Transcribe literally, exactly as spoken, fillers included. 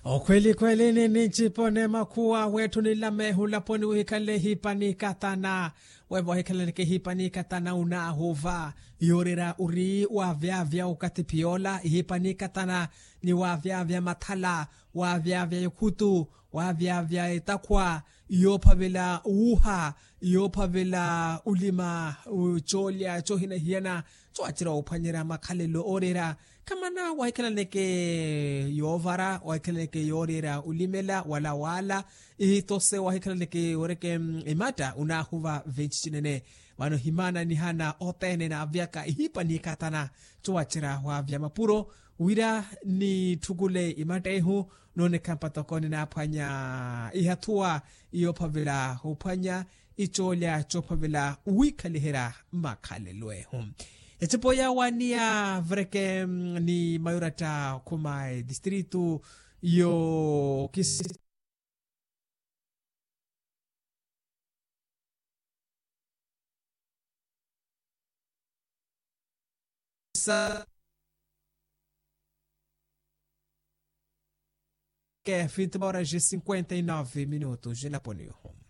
Okhweli khweli ni nincipone makhuwa wetthu nilamehe olaponi wihikhanle ehipa nikatana. Wevo wahikhalaneke ehipa nikatana onaahuva. Yoorera ori wavyavya okathi phiyoola ehipa nikatana, ni wavyavya mathala, wavyavya ekhutu, wavyavya etakhwa, yoophavela wuuha, yoophavela olima, coolya coohinahiyana, coowacerya woophwanyerya makhalelo ooreera. Khamana wahikhalaneke yoovara, wahikhalaneke yooreera olimela wala waala. Ihi tose wahikhalaneke yooreke ematta onaahuva venci cinene. Vano himaana nihana othene naavyaka ehipa nikatana, coowacerya waavya mapuro wira nitthukule ematta ehu. Noonekha mpatoko ninaaphwanya ihathuwa yoophavela ophwanya, icoolya coophavela wiikhaliherya makhalelo ehu. Ecipo yaawaaniya vreke ni mayuratta okhuma edistritu yo kisi sa ke vinte horas e cinquenta e nove minutos de laponiho.